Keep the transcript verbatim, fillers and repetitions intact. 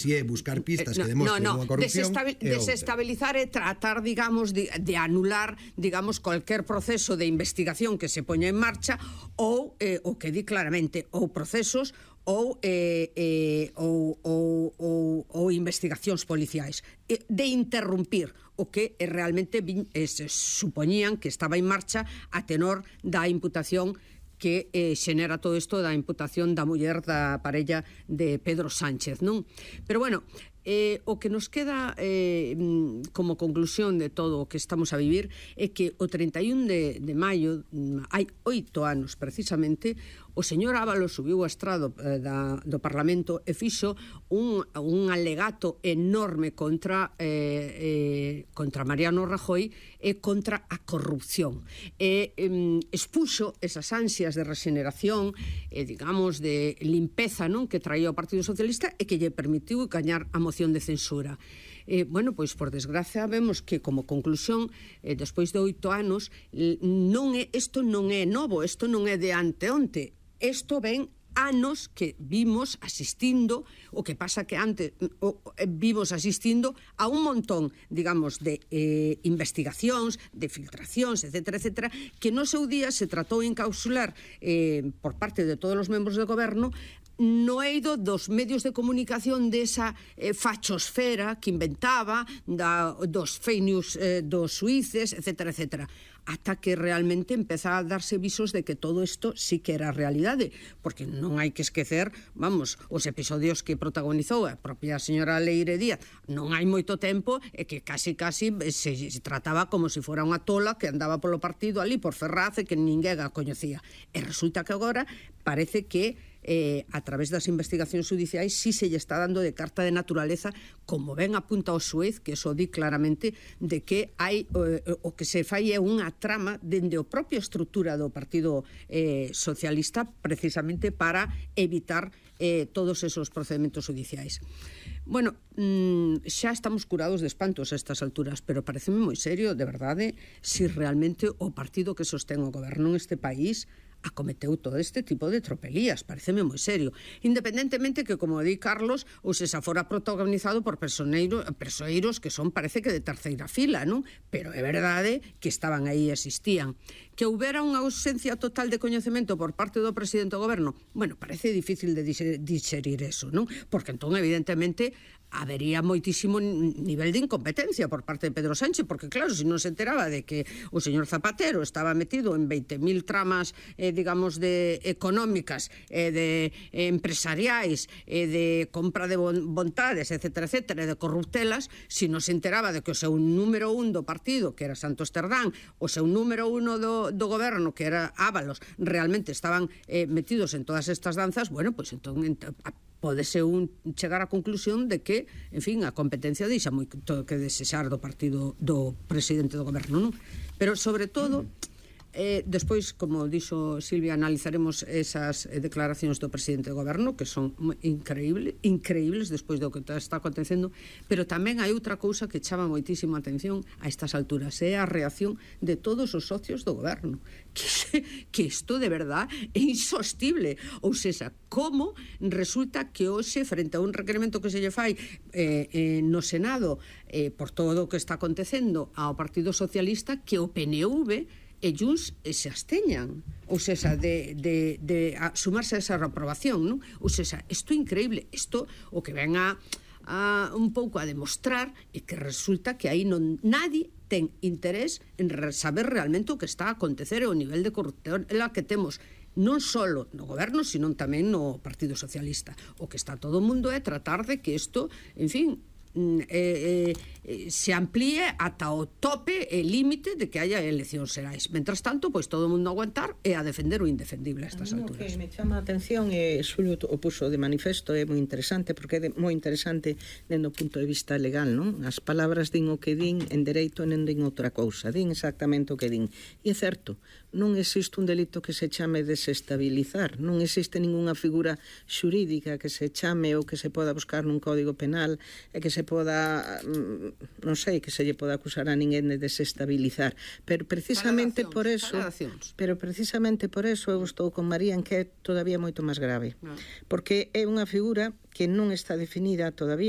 Si é buscar pistas no, que demostren no, no. unha corrupción, Desestabil, desestabilizar é tratar, digamos, de, de anular, digamos, cualquier proceso de investigación que se poña en marcha ou, eh, o que di claramente, ou procesos ou, eh, eh, ou, ou, ou, ou investigacións policiais, de interrumpir o que realmente eh, se supoñían que estaba en marcha a tenor da imputación que eh, xenera todo isto da imputación da muller da parella de Pedro Sánchez, non? Pero bueno, eh, o que nos queda eh, como conclusión de todo o que estamos a vivir é que o treinta e un de, de maio, hai oito anos precisamente, o señor Ábalos subiu ao estrado eh, da, do Parlamento e fixo un, un alegato enorme contra eh, eh, contra Mariano Rajoy e contra a corrupción. E eh, expuxo esas ansias de regeneración e, eh, digamos, de limpeza, non, que traía o Partido Socialista e que lle permitiu gañar a moción de censura. Eh, bueno, pois, por desgracia, vemos que, como conclusión, eh, despois de oito anos, non é, isto non é novo, isto non é de anteonte. Isto ven anos que vimos asistindo, o que pasa que antes o, vimos asistindo a un montón, digamos, de eh, investigacións, de filtracións, etcétera, etcétera, que no seu día se tratou de encausular eh, por parte de todos os membros do goberno no eido dos medios de comunicación desa eh, fachosfera que inventaba, da, dos fake news eh, dos suíces, etcétera, etcétera, ata que realmente empeza a darse visos de que todo isto sí que era realidade, porque non hai que esquecer, vamos, os episodios que protagonizou a propia señora Leire Díaz non hai moito tempo, e que casi casi se, se trataba como se fora unha tola que andaba polo partido ali por Ferraz e que ninguén a coñecía, e resulta que agora parece que eh, a través das investigacións judiciais si se lle está dando de carta de naturaleza, como ben apunta o xuez, que eso di claramente de que hai eh, o que se fai é unha trama dende a propia estrutura do Partido eh, Socialista, precisamente para evitar eh, todos esos procedementos judiciais. Bueno, mmm, xa estamos curados de espantos a estas alturas, pero pareceme moi serio, de verdade, si realmente o partido que sostén o goberno neste país acometeu todo este tipo de tropelías, pareceme moi serio, independentemente que, como di Carlos, ou se xa fora protagonizado por persoeiros, persoeiros que son, parece que de terceira fila, non? Pero é verdade que estaban aí e existían. Que houbera unha ausencia total de coñecemento por parte do presidente do goberno, bueno, parece difícil de digerir eso, non? Porque entón, evidentemente, habería moitísimo nivel de incompetencia por parte de Pedro Sánchez, porque claro, se non se enteraba de que o señor Zapatero estaba metido en veinte mil tramas, eh, digamos, de económicas, eh, de eh, empresariais, eh, de compra de bon vontades, etcétera, etcétera, de corruptelas, se non se enteraba de que o seu número un do partido, que era Santos Cerdán, o seu número uno do, do goberno, que era Ábalos, realmente estaban eh, metidos en todas estas danzas, bueno, pois pues, entón podese un chegar á conclusión de que, en fin, a competencia deixa moito que desexar do partido do presidente do goberno, non? Pero, sobre todo, eh, despois, como dixo Silvia, analizaremos esas eh, declaracións do presidente do goberno, que son increíbles, increíbles despois do que está acontecendo, pero tamén hai outra cousa que chama moitísima atención a estas alturas, é a reacción de todos os socios do goberno, que, que isto de verdad é insostible, ou seja, como resulta que hoxe, frente a un requerimento que se lle fai eh, eh, no Senado eh, por todo o que está acontecendo ao Partido Socialista, que o P N V e Junts se absteñan, ou seja, de, de, de a sumarse a esa reprobación, non? Ou seja, isto é increíble, isto o que ven a, a un pouco a demostrar é que resulta que aí non nadie ten interés en saber realmente o que está a acontecer e o nivel de corrupción que temos non só no goberno, sino tamén no Partido Socialista. O que está todo o mundo é tratar de que isto, en fin, Eh, eh, se amplíe ata o tope e límite de que haya eleccións xerais. Mentras tanto, pois todo o mundo aguantar e a defender o indefendible a estas alturas. O que me chama a atención e Xulio o puso de manifesto, é moi interesante, porque é moi interesante dentro do punto de vista legal, non? As palabras din o que din en dereito e non din outra cousa, din exactamente o que din. E é certo, non existe un delito que se chame desestabilizar, non existe ningunha figura xurídica que se chame ou que se poda buscar nun código penal e que se se poda, non sei, que se lle poda acusar a ninguén de desestabilizar, pero precisamente por eso, pero precisamente por eso eu estou con María en que é todavía moito máis grave, porque é unha figura que non está definida todavía,